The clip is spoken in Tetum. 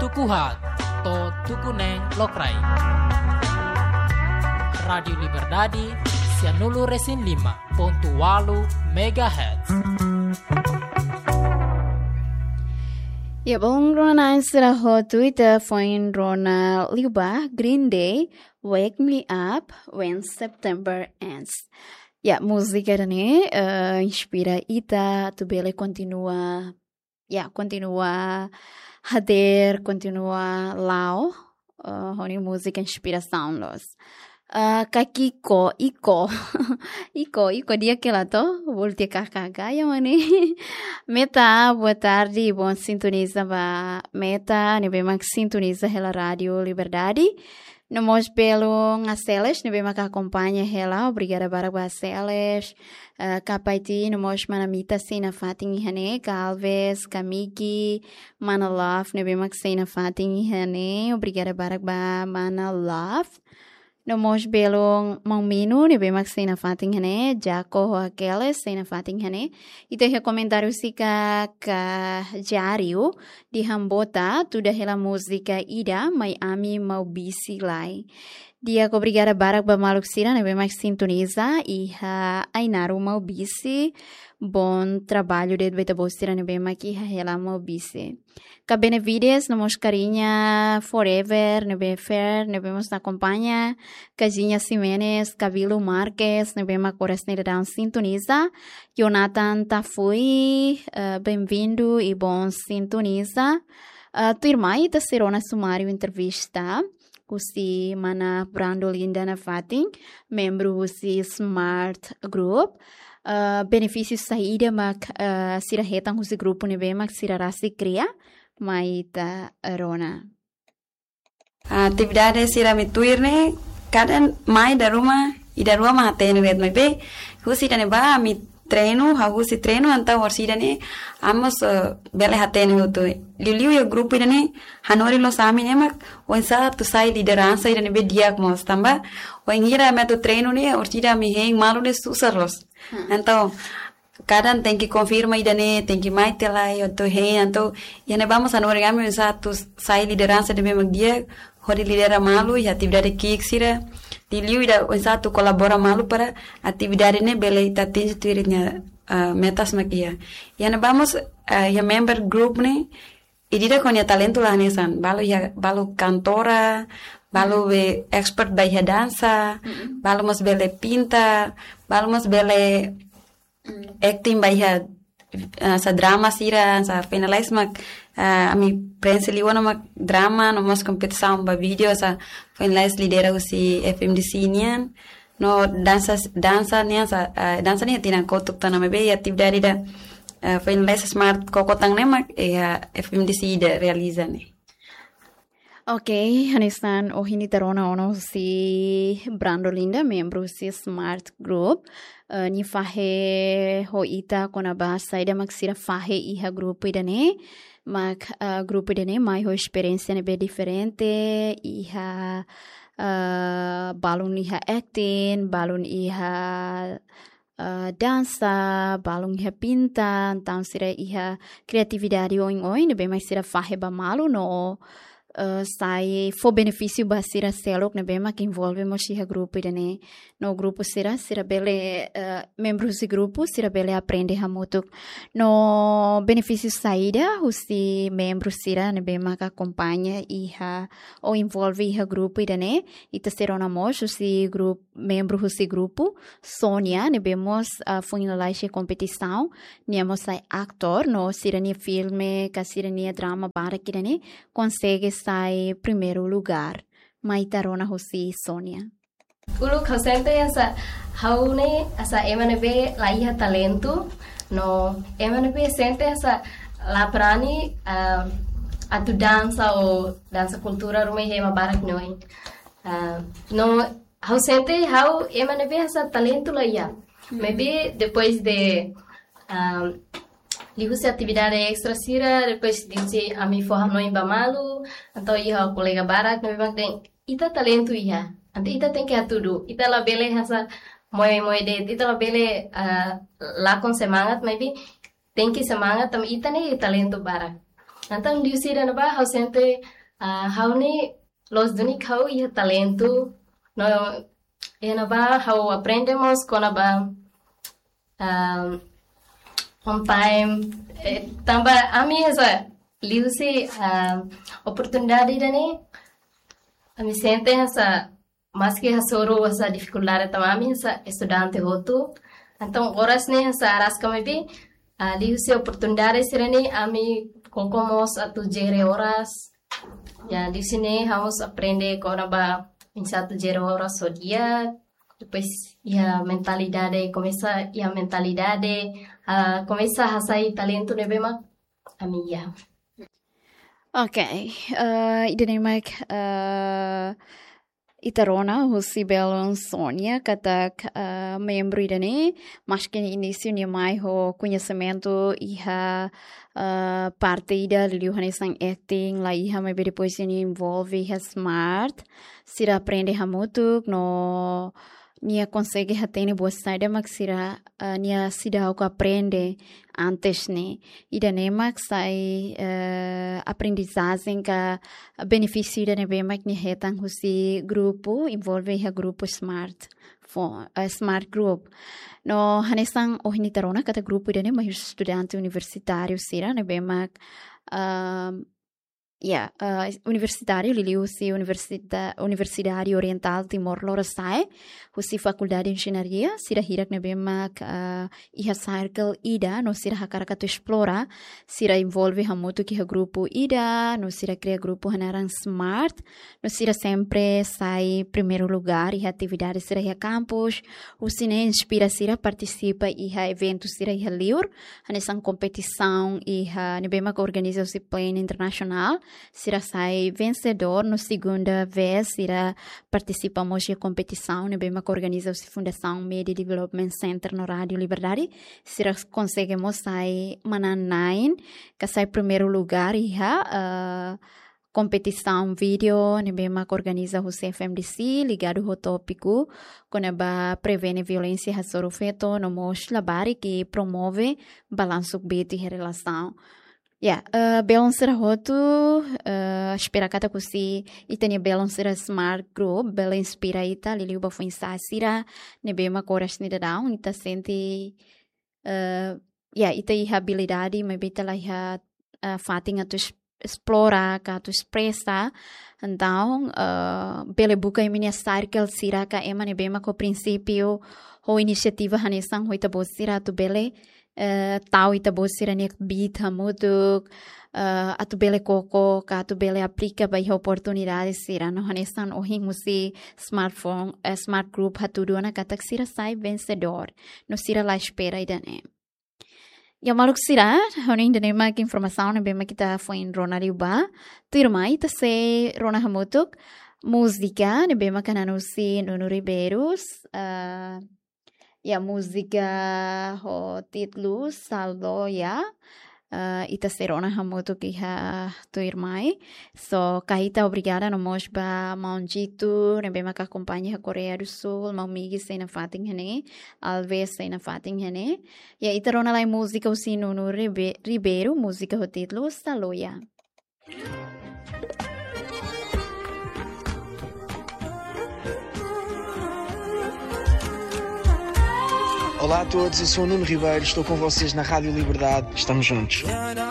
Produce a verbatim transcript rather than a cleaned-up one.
Tuku haat to'o tuku neen lokraik. Rádiu Liberdade, sianulu resin lima pontu walu megahertz. Ya, bom, rona sira ho Twitter foin rona liubá Green Day, Wake Me Up When September Ends. Ya, múzika ida-ne'e, eh, inspira ita atu bele kontinua, ya, kontinua hadeer, kontinua la'o, eh, ho nia múzika inspirasaun loos. Eh, Kakiko, Iko. Iko, Iko di'ak hela to, bolu tiha K K K, ya mane. Meta, boa tarde, bom sintoniza ba Meta, ne'ebé mak sintoniza hela Rádiu Liberdade. No mós belun Aseles, ne'ebé mak akompaña hela, obrigada barak ba Aseles. Eh, Kapaiti, no mós mana Mita sei nafatin iha ne'e, Galvez, Kamiki, mana Love, ne'ebé mak sei nafatin iha ne'e, obrigada barak ba mana Love. No mós belun maun Minu, ne'ebé mak sei nafatin iha ne'e, Jako ho Akeles sei nafatin iha ne'e. Ita iha komentáriu sira ka Jariu, dehan bota, tuda hela múzika ida, mai ami Maubisse lai. Di'ak, obrigada barak ba maluk sira ne'ebé mak sintoniza iha Ainaro Maubisse, bom trabalho de'it ba ita-boot sira ne'ebé mak iha hela Maubisse. Ka Benavides, no mós Carinha Forever, ne'ebé Fer, ne'ebé mós akompaña, Kajinha Ximenes, Cabelo Marques, ne'ebé mak oras ne'e daudaun sintoniza, Jonathan Tafui, eh, bem-vindo e bom sintoniza. Eh, tuirmai ita sei rona sumáriu entrevista husi mana Brando Linda nafatin, membru husi Smart Group. Eh, benefísiu saida mak, eh, sira hetan husi grupu ne'ebé mak sira rasik kria, mai ita rona. Atividade sira ami tuir ne'e, kada mai dala ruma, ida rua mak hatene de'it maibé, husi ida-ne'ebá ami treinu, ha'u husi treinu entaun orsida ne'e, ami mós, eh, bele hatene hotu. Liuliu iha grupu ida-ne'e, hanorin loos ami ne'e mak, oinsá atu sai lideransa ida-ne'ebé di'ak mós tanba, wainhira ami atu treinu ne'e, orsida ami hein malu ne'e susar loos. Hmm. Entaun, kada tenke konfirma ida-ne'e, tenke mai tiha lai, atu hein, entaun, iha ne'ebá mós hanorin ami oinsá atu sai lideransa ida-ne'ebé mak di'ak, hodi lidera malu iha atividade ki'ik sira. Liuliu ida oinsá atu kolabora malu para atividade ne'e bele ita atinje tuir nia, ah, metas mak iha. Iha ne'ebá mós, ah, iha member group ne'e, ida-idak ho nia talentu la hanesan. Balu iha, balu kantora, balu be expert ba iha dansa, balu mós bele pinta, balu mós bele acting ba iha, eh, sá drama sira, sá finalize mak, eh, ami prenxe liu ona mak drama, no mós kompetisaun ba vídeo, sá finalize lidera husi F M D C nian, no dansa, dansa nian, sá, eh, dansa nian tinan kotuk tan ami be, atividade ida, eh, finalize Smart Koko tan ne'e mak, eh, F M D C ida realiza ne'e. Ok, hanesan ohin ita rona ona husi Brando Linda, membru husi Smart Group. Eh, nia fahe ho ita kona-ba saida mak sira fahe iha grupu ida-ne'e. Mak, eh, grupu ida-ne'e mai ho esperiénsia ne'ebé diferente, iha, eh, balun iha acting, balun iha eh, dansa, balun iha pinta, entaun sira iha kriatividade oioin, ne'ebé mak sira fahe ba malu no, eh, sai fó benefísiu ba sira seluk ne'ebé mak envolve mós iha grupu ida-ne'e. No grupu sira, sira bele, eh, membru husi grupu, sira bele aprende hamutuk. No benefísiu saida husi membru sira ne'ebé mak akompaña iha ou envolve iha grupu ida-ne'e, ita sei rona mós husi grupu, membru husi grupu, Sonia, ne'ebé mós, ah, foin lalais iha kompetisaun, nia mós sai atór, no sira-nia filme, ka sira-nia drama barak ida-ne'e, konsege sai primeiru lugár. Mai ita rona husi Sonia. Uluk ha'u sente hanesan ha'u ne'e hanesan ema ne'ebé la iha talentu, no ema ne'ebé sente hanesan la brani, ah, atu dansa ou dansa kultura ruma iha ema barak nia oin. Ah, no ha'u sente ha'u ema ne'ebé hanesan talentu la iha. Maibé depois de, ah, liuhusi atividade extra sira, depois de se ami fó hanoin ba malu, entaun iha kolega barak ne'ebé mak dehan ita talentu iha. Entaun ita tenke hatudu, ita labele hanesan moe-moe de'it, ita labele, ah, lakon semangat, maibé tenke semangat tanba ita ne'e talentu barak. Entaun liuhusi ida-ne'ebá ha'u sente, ah, ha'u-nia loos duni katak ha'u iha talentu. No iha ne'ebá ha'u aprende mós kona-ba, ah, on time. Eh, tanba ami hanesan liuhusi, ah, oportunidade ida-ne'e, ami sente hanesan maski hasoru hanesan difikuldade tanba ami hanesan estudante hotu. Entaun oras ne'e hanesan araska maibé, ah, liuhusi oportunidade sira-ne'e ami koko mós atu jere oras. Ya, liuhusi ne'e ha'u mós aprende kona-ba oinsá atu jere oras ho di'ak. Depois iha mentalidade, komesa iha mentalidade, ah, komesa hasai talentu ne'ebé mak ami iha. Ok, eh, ida-ne'e mak, eh, ita rona husi belun Sonia katak, eh, membru ida-ne'e, maski inísiu nia mai ho koñesimentu iha, eh, parte ida liuliu hanesan acting, la iha, maibé depois nia envolve iha Smart, sira aprende hamutuk, no nia konsege hatene buat saida mak sira, eh, nia seidauk aprende antes ne'e. Ida-ne'e mak sai, eh, aprendizajen ka benefísiu ida ne'ebé mak nia hetan husi grupu, envolve iha grupu Smart, fo-, eh, Smart Group. No hanesan ohin ita rona katak grupu ida-ne'e mai husi estudante universitáriu sira ne'ebé mak, ah, ya, eh, universitáriu liuliu husi Universita-, Universidade Oriental Timor Lorosa'e, husi Fakuldade Enjeñaria, sira hirak ne'ebé mak, eh, iha circle ida, no sira hakarak atu esplora, sira envolve hamutuk iha grupu ida, no sira kria grupu hanaran Smart, no sira sempre sai primeiru lugar iha atividade sira iha kampus, husi ne'e inspira sira partisipa iha eventu sira iha liur, hanesan kompetisaun iha ne'ebé mak organiza husi planu internasionál, sira sai vensedór, no segunda vez sira partisipa mós iha kompetisaun ne'ebé mak organiza husi Fundasaun Media Development Center no Rádiu Liberdade, sira konsege mós sai manán-na'in, ka sai primeiru lugar iha, eh, kompetisaun vídeo ne'ebé mak organiza husi F M D C, ligadu ho tópiku kona-ba prevene violénsia hasoru feto, no mós labarik i promove balansu kbiit iha relasaun. Ya, eh, belun sira hotu, eh, espera katak husi ita-nia belun sira Smart Group bele inspira ita liuliu ba foin-sa'e sira ne'ebé mak oras ne'e daudaun ita sente, eh, ya, ita iha abilidade, maibé ita la iha, eh, fatin atu es-, esplora, ka atu espresa. Entaun, eh, bele buka imi-nia circle sira ka ema ne'ebé mak ho prinsípiu, ho inisiativa hanesan ho ita-boot sira atu bele, eh, tau ita-boot sira-nia kbiit hamutuk, eh, atu bele koko, ka atu bele aplika ba iha oportunidade sira. No hanesan ohin husi smartphone, eh, Smart Group hatudu ona katak sira sai vensedór. No sira la espera ida-ne'e. Ya maluk sira, ha'u hanoin ida-ne'e mak informasaun ne'ebé mak ita foin rona liu ba. Tuirmai ita sei rona hamutuk múzika ne'ebé mak hanan husi Nuno Ribeiro, eh, ya múzika ho títulu Saloia. Eh, ita sei rona hamutuk iha tuirmai. So, kaita obrigada no mós ba maun Jito, ne'ebé mak akompaña iha Koreia do Sul, maun Migi sei nafatin iha ne'e, Alves sei nafatin iha ne'e. Ya, ita rona lai múzika husi Nuno Ribe-, Ribeiro, múzika ho títulu Saloia. Olá a todos, eu sou o Nuno Ribeiro, estou com vocês na Rádio Liberdade. Estamos juntos.